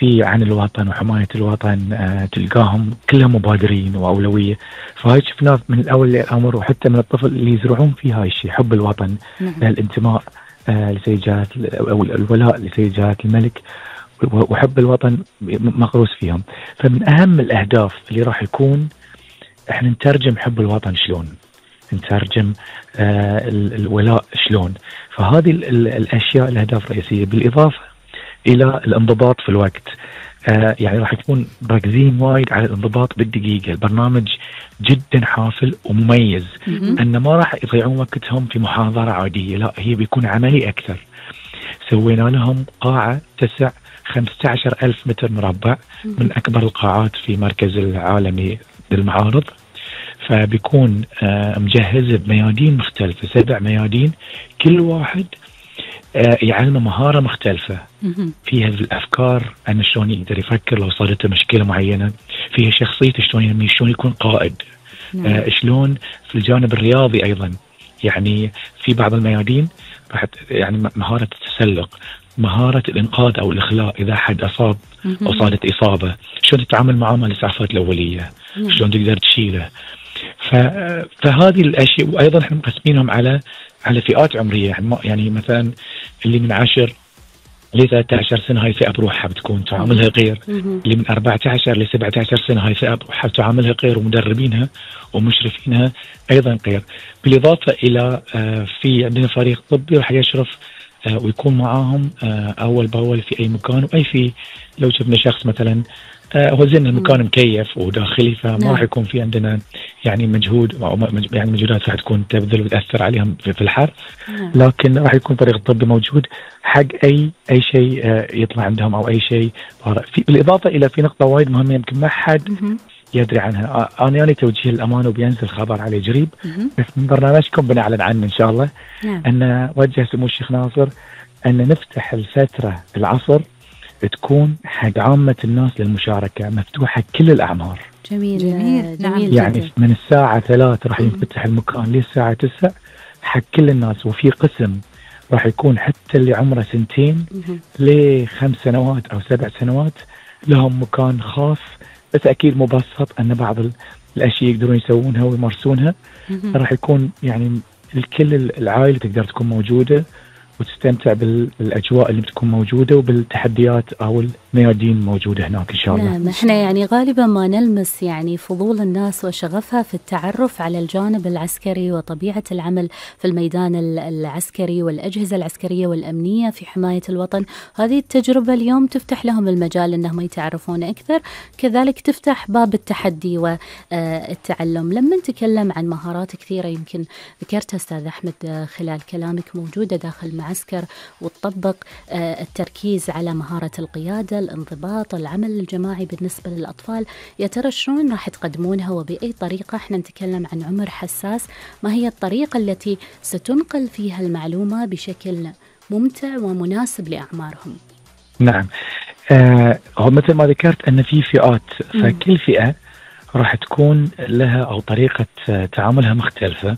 في عن الوطن وحماية الوطن تلقاهم كلهم مبادرين وأولوية. فهاي شفناه من الأول للأمر، وحتى من الطفل اللي يزرعون فيه هاي الشيء، حب الوطن، الانتماء لسيد جلالة أو الولاء لسيد جلالة الملك وحب الوطن مغروس فيهم. فمن أهم الأهداف اللي راح يكون احنا نترجم حب الوطن شلون، نترجم الولاء شلون. فهذه الأشياء الأهداف الرئيسية، بالإضافة إلى الانضباط في الوقت. يعني راح يكون مركزين وايد على الانضباط بالدقيقة. البرنامج جدا حافل ومميز، أن ما راح يضيعون وقتهم في محاضرة عادية، لا، هي بيكون عملي أكثر. سوينا لهم قاعة تسع 15,000 متر مربع، من أكبر القاعات في مركز العالمي للمعارض. فبيكون مجهز بميادين مختلفة، 7 ميادين، كل واحد يعلم مهارة مختلفة فيها الأفكار، أن شلون يقدر يفكر لو صارت مشكلة معينة، فيها شخصيته شلون يكون قائد، شلون في الجانب الرياضي أيضا. يعني في بعض الميادين راح يعني مهارة التسلق، مهارة الإنقاذ أو الإخلاء إذا حد أصاب أو صارت إصابة، شلون تتعامل معه مع الإسعافات الأولية، شلون تقدر تشيله. فهذه الأشياء. وأيضا احنا مقسمينهم على فئات عمرية، يعني مثلا اللي من 10 ل 13 سنة هاي فئة بروحها بتكون تعاملها غير، اللي من 14 ل 17 سنة هاي فئة بروحها تعاملها غير، ومدربينها ومشرفينها أيضا غير. بالإضافة إلى في عندنا فريق طبي راح يشرف ويكون معاهم أول بأول في أي مكان في لو شفنا شخص مثلا هو زين المكان مكيف وداخلي، فما راح يكون في عندنا يعني مجهود أو يعني مجهودات راح تكون تبذل وتأثر عليهم في الحر، لكن راح يكون فريق طبي موجود حق أي شيء يطلع عندهم أو أي شيء. بالإضافة إلى في نقطة وايد مهمة يمكن ما حد يدري عنها، أنا يعني توجيه الأمانة وبينزل خبر عليه قريب، بس من برنامجكم بنعلن عنه إن شاء الله. أن وجه سمو الشيخ ناصر أن نفتح الفترة العصر تكون حق عامة الناس للمشاركة، مفتوحة كل الأعمار. جميل. يعني جدا. من الساعة 3 راح ينفتح المكان للساعة 9 حق كل الناس، وفي قسم راح يكون حتى اللي عمره 2 ل5 سنوات أو 7 سنوات لهم مكان خاص، بس أكيد مبسط أن بعض الأشياء يقدرون يسوونها ويمارسونها. راح يكون يعني الكل العائلة تقدر تكون موجودة وتستمتع بالأجواء اللي بتكون موجودة وبالتحديات أو الميادين موجودة هناك إن شاء الله. نعم، احنا يعني غالبا ما نلمس يعني فضول الناس وشغفها في التعرف على الجانب العسكري وطبيعة العمل في الميدان العسكري والأجهزة العسكرية والأمنية في حماية الوطن. هذه التجربة اليوم تفتح لهم المجال أنهم يتعرفون أكثر، كذلك تفتح باب التحدي والتعلم. لما نتكلم عن مهارات كثيرة يمكن ذكرتها أستاذ أحمد خلال كلامك موجودة داخل المعسكر، وتطبق التركيز على مهارة القيادة، الانضباط، العمل الجماعي بالنسبة للأطفال، يا ترى شلون راح تقدمونها وبأي طريقة؟ احنا نتكلم عن عمر حساس، ما هي الطريقة التي ستنقل فيها المعلومة بشكل ممتع ومناسب لأعمارهم؟ نعم، هو مثل ما ذكرت أن في فئات، فكل فئة راح تكون لها أو طريقة تعاملها مختلفة،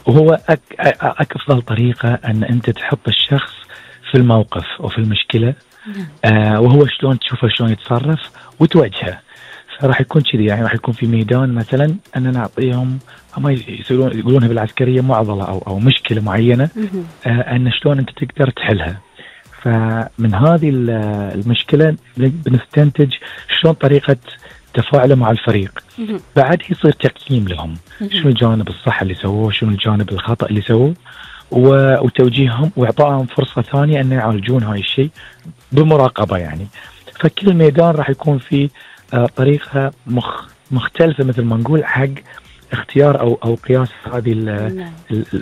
وهو أفضل طريقة أن أنت تحط الشخص في الموقف وفي المشكلة، وهو شلون تشوفه شلون يتصرف وتوجهه. فراح يكون كذي، يعني راح يكون في ميدان مثلا أن نعطيهم هم يقولونها بالعسكرية معضلة أو مشكلة معينة، أن شلون أنت تقدر تحلها. فمن هذه المشكلة بنستنتج شلون طريقة تفاعله مع الفريق. بعد يصير تقييم لهم، شنو الجانب الصح اللي سووه، شنو الجانب الخطأ اللي سووه، وتوجيههم وإعطائهم فرصة ثانية أن يعالجون هاي الشيء بمراقبة يعني. فكل ميدان راح يكون فيه طريقة مختلفة مثل ما نقول حق اختيار أو قياس هذه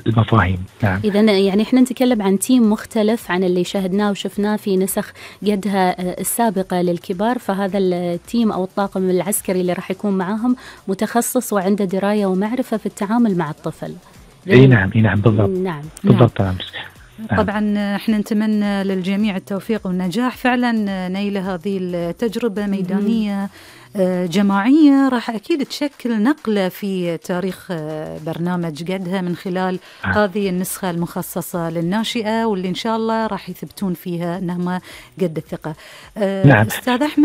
المفاهيم. نعم. إذن يعني إحنا نتكلم عن تيم مختلف عن اللي شاهدناه وشفناه في نسخ قدها السابقة للكبار، فهذا التيم أو الطاقم العسكري اللي راح يكون معاهم متخصص وعنده دراية ومعرفة في التعامل مع الطفل. اي نعم بالضبط. نعم. بالضبط. طبعا احنا نتمنى للجميع التوفيق والنجاح فعلا نيل هذه التجربة ميدانية جماعية راح أكيد تشكل نقلة في تاريخ برنامج قدها من خلال هذه النسخة المخصصة للناشئة واللي إن شاء الله راح يثبتون فيها أنهم قد الثقة. نعم. أستاذ أحمد